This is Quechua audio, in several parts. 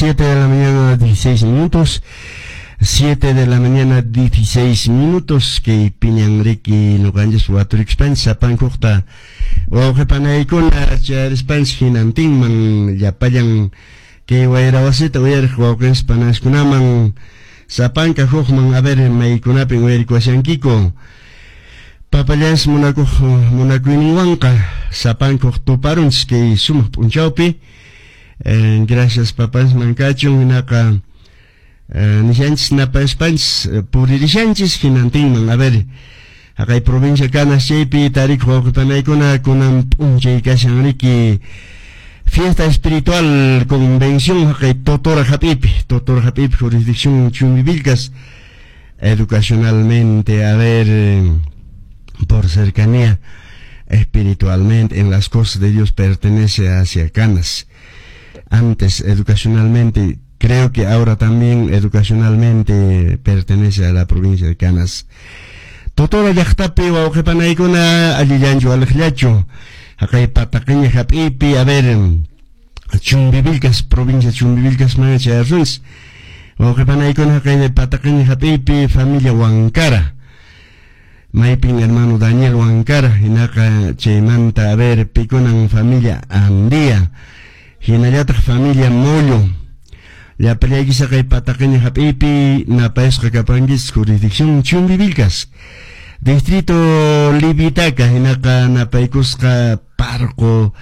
7 de la mañana 16 minutos. 7 de la mañana 16 minutos kay piñan riki ñuqanchis waturikushpanchis sapankuqta wawqi panaykuna chayarispanchis hinantinman llapallan kay wayra wasita uyariq wawqinchis panaskunaman sapanka hukman, a ver, maykunapin uyarikuwashankiku. Papallanchis munakuq munakuyninwanqa sapankuq tuparunchis kay sumaq p'unchawpi. Gracias papansman kachun. Hinaqa nishanchis napaspanchis puririshanchis hinantinman, a ver, haqay provincia Canas chaypi tarikuq wawqipanaykuna, kunan p'unchay kashan riki fiesta espiritual convención haqay Totora hap'ipi, Totora hap'ipi, jurisdicción Chumbivilcas. Educacionalmente, a ver, por cercanía, espiritualmente, en las cosas de Dios, pertenece hacia Canas. Antes educacionalmente, creo que ahora también educacionalmente pertenece a la provincia de Canas. Totora llaqtapi wawqipanaykuna, allillanchu waliqllachu haqay Pataqiña hap'ipi, a ver, Chumbivilcas, provincia Chumbivilcas mana chayarunchis. Wawqipanaykuna, haqay Pataqiña hap'ipi familia Huancara, maypin hermano Daniel Huancara, hinaqa chaymanta, a ver, pikunan familia Andía, hinallataq familia Mollo, llapallaykichis haqay Pataqiña hap'ipi napayasqa kapankichis, jurisdicción Chumbivilcas, distrito Livitaca. Hinaqa napaykusqa Parco,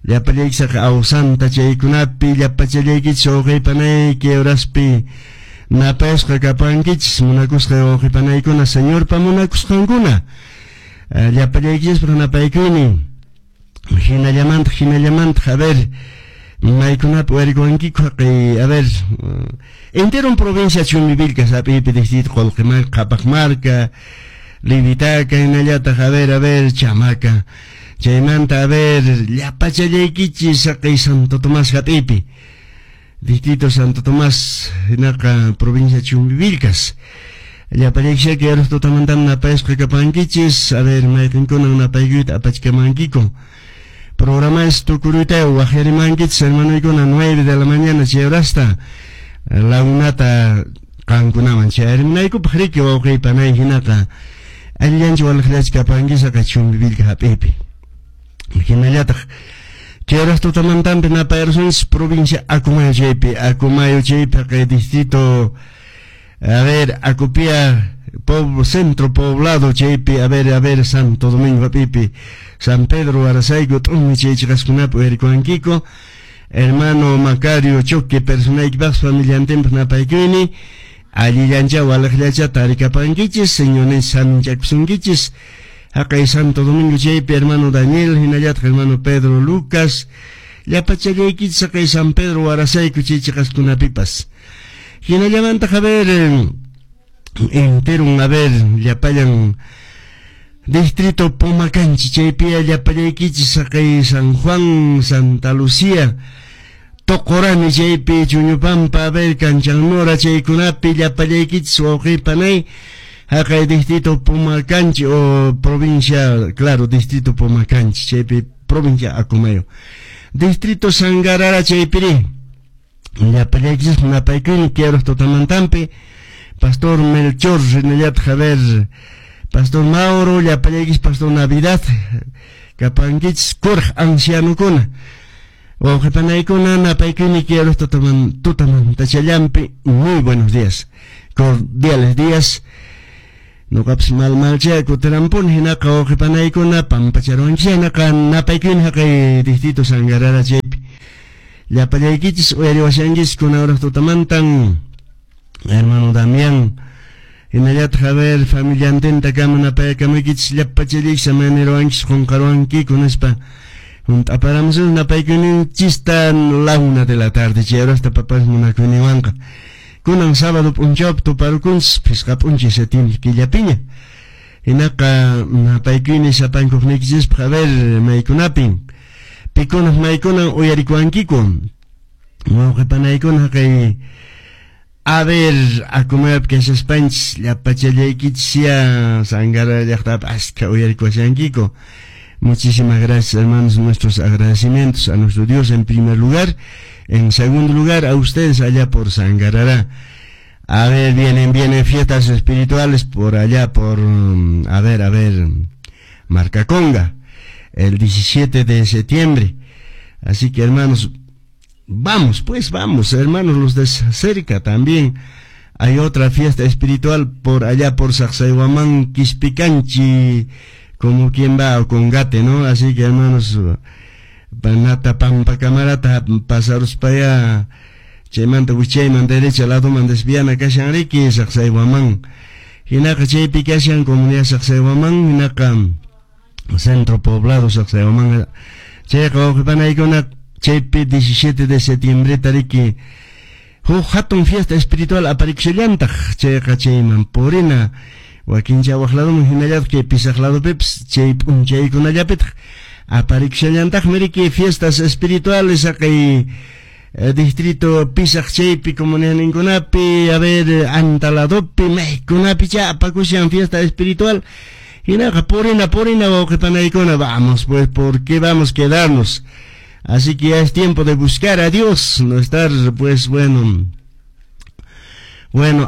llapallaykichis haqay Ausanta chaykunapi, llapachallaykichis wawqipanayki horaspi napayasqa kapankichis, munakusqa wawqipanaykuna, Señorpa munakusqankuna, llapallaykichispaq napaykuynin. Hinallamantaq, hinallamantaq, a ver, maykunapi uyarikuwankiku haqay, a ver, entero en provincia Chumbivilcas hap'ipi, distrito Qolqimarka, Qhapaqmarka, Livitaca, hinallataq, a ver, Chamaca, chaymanta, a ver, llapachallaykichis haqay Santo Tomás hap'ipi, distrito Santo Tomás, hinaqa provincia Chumbivilcas, llapallaykichis yarus tutamantam napayasqa kapankichis. A ver, mayqinkunan napaykuyta apachikamankiku. Programa es tukuruyta waqyarimankichis, hermanoykuna, 9 de la mañana chay horasta la unata qankunaman chayarimunaykupaq riki, wawqiy panay. Hinaqa allillanchu waliqllachu kapankis haqay Chumbivilca hap'ipi. Hinallataq chay horas tutamantampi napayarsunchis provincia Acomayo chaypi, Acomayo chaypi haqay distrito, a ver, Acopia, centro poblado chaypi, a ver, Santo Domingo hap'ipi, San Pedro, Arasayku, T'umi chay chiqaskunapi uyarikuwankiku. Hermano Macario Choque personaykipaq familiantinpaq napaykuyni, allillancha waliqllacha tarikapankichis, Señorninchis saminchakusunkichis. Haqay Santo Domingo chaypi hermano Daniel, hinallataq hermano Pedro Lucas, llapachallaykichis haqay San Pedro Warasayku chay chiqaskunapipas. Hinallamantaq, a ver, enteron, a ver, llapallan distrito Pomacanchi chaypi llapallaykichis haqay San Juan, Santa Lucía, Tocorani chaypi, Chuñupampa, a ver, Canchanmora chaykunapi llapallaykichis wawqipanay haqay distrito Pomacanchi o provincia, claro, distrito Pomacanchi chaypi, provincia Acomayo, distrito Sangarara chaypiri llapallaykichis napaykuyni quiero tutamantampi. Pastor Melchor, hinallataq, a ver, Pastor Mauro, llapallaykichis, Pastor Navidad kapankichis, kuraq ancianokuna, wawqipanaykuna, napaykuyni quiero tutamantachallampi. Muy buenos días, cordiales días. Ñuqapas mal malcha kutirampuni. Hinaqa wawqipanaykuna, pampacharuwanchis. Hinaqa napaykuyni haqay distrito Sangarara chaypi llapallaykichis uyariwashankichis kuna hora tutamantan. Hermano Damián, hinallataq, a ver, familiantintakama napaykamuykichis llapachallaykichis, amaniruwankichis qunqaruwankiku nispa hunt'aparamusun napaykuyninchista la 1 de la tarde chay horasta papas munakuyninwanqa. Kunan sábado p'unchawpi tuparukunchis phisqa p'unchay septiembre killapiña. Hinaqa napaykuyni sapankuqniykichispaq, a ver, maykunapin, pikunaq maykunan uyarikuwankiku, wawqipanaykuna haqay, a ver, Acomayopi kashaspanchis llapachallaykichis ya Sangara llaqtapi askha uyarikuwashankiku. Muchísimas gracias, hermanos, nuestros agradecimientos a nuestro Dios en primer lugar. En segundo lugar, a ustedes allá por Sangarará. A ver, vienen fiestas espirituales por allá, por, a ver, Marcaconga, el 17 de septiembre. Así que, hermanos, vamos, pues vamos, hermanos, los de cerca también. Hay otra fiesta espiritual por allá por Sacsayhuamán, Quispicanchi, como quien va a Congate, ¿no? Así que, hermanos, Nata Pampa Camarata, pasaros para allá, chaymanta wichayman derecha ladoman desviana kashan riki Sacsayhuamán. Hinaqa chaypi kashan comunidad Sacsayhuamán, hinaqa centro poblado Sacsayhuamán. Chayqa wawqipanaykuna chaypi 17 de septiembre tariki huk hatun fiesta espiritual aparikusallantaq, chayqa chayman purina wakincha waq ladoman hinallataq kay Pisaq ladopipis chay p'unchaykunallapitaq aparikusallantaqmi riki fiestas espirituales haqay distrito Pisaq chaypi comunidadninkunapi, a ver, Anta ladopi, maykunapi cha apakushan fiesta espiritual. Hinaqa purina wawqipanaykuna, vamos pues, ¿por qué vamos a quedarnos? Así que ya es tiempo de buscar a Dios, no estar pues bueno,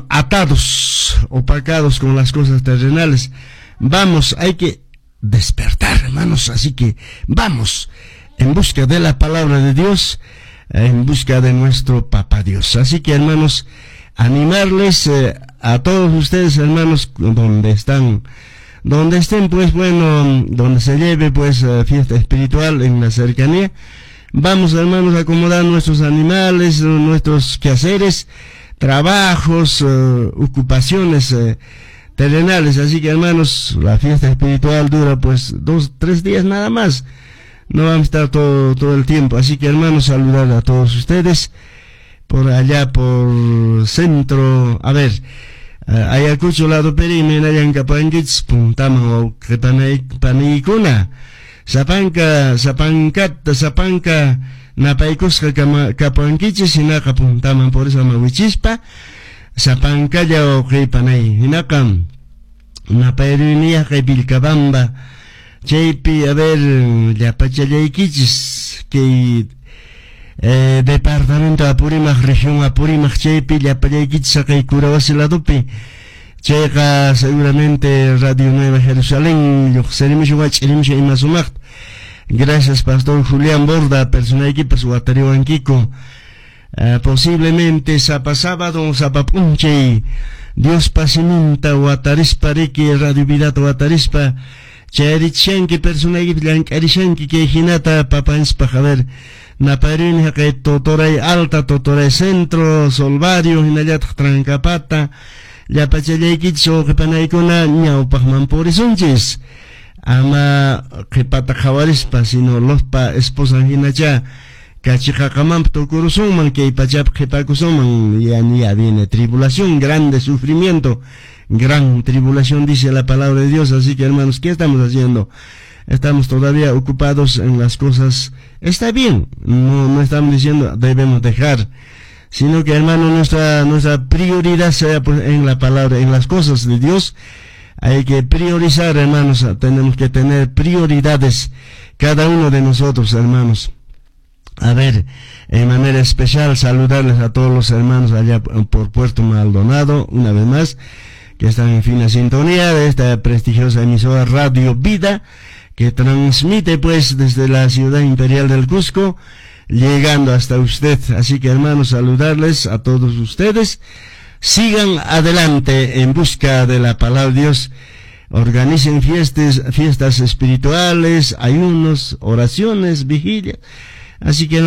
atados, opacados con las cosas terrenales. Vamos, hay que despertar, hermanos, así que vamos en busca de la palabra de Dios, en busca de nuestro Papá Dios. Así que, hermanos, animarles a todos ustedes, hermanos, donde están, donde estén, pues bueno, donde se lleve pues fiesta espiritual en la cercanía. Vamos, hermanos, a acomodar nuestros animales, nuestros quehaceres, trabajos, ocupaciones terrenales. Así que, hermanos, la fiesta espiritual dura pues 2, 3 días nada más. No vamos a estar todo el tiempo. Así que, hermanos, saludar a todos ustedes por allá, por centro, a ver, Ayacucho lado peri minayan kapankichis puntaman wawqipanaykuna sapanka sapankata sapanka napaykusqa kapankichis hinaqa puntaman purisa mawichispa sapankalla wawqipanay hinaqa napayruniyaqqa Vilcabamba chaypi, a ver, llapachallaykichis kay departamento Apurímac, región Apurímac, chaypi llapallaykichis haqay Curawasi ladopi. Chayqa seguramente Radio Nueva Jerusalén lluqsirimushan wach'irimushan ima sumaqta. Gracias, Pastor Julián Borda, personaykipas watariwankiku. Posiblemente sapa sábado, sapa p'unchay Diospa siminta watarispa riki Radio Vidata watarispa chayrichanki personaykipas llank'arishanki kay hinata papanchispaq, a ver, naparini haqay Totoray Alta, Totoray Centro, Solvario, hinallataq Trancapata, llapachallaykichis wawqipanaykuna ñawpaqman purisunchis. Ama qhipata qhawarispa, sino Lotpa esposan hinacha kachiqaqamanpa tukurusunman, kay pachapi qhipakusunman. Ya viene tribulación, grande sufrimiento, gran tribulación, dice la palabra de Dios. Así que, hermanos, ¿qué estamos haciendo? Estamos todavía ocupados en las cosas. Está bien, no estamos diciendo debemos dejar, sino que, hermano, nuestra prioridad sea pues en la palabra, en las cosas de Dios. Hay que priorizar, hermanos, tenemos que tener prioridades cada uno de nosotros, hermanos. A ver, en manera especial saludarles a todos los hermanos allá por Puerto Maldonado, una vez más, que están en fina sintonía de esta prestigiosa emisora Radio Vida, que transmite pues desde la ciudad imperial del Cusco, llegando hasta usted. Así que, hermanos, saludarles a todos ustedes. Sigan adelante en busca de la palabra de Dios. Organicen fiestas espirituales, ayunos, oraciones, vigilias. Así que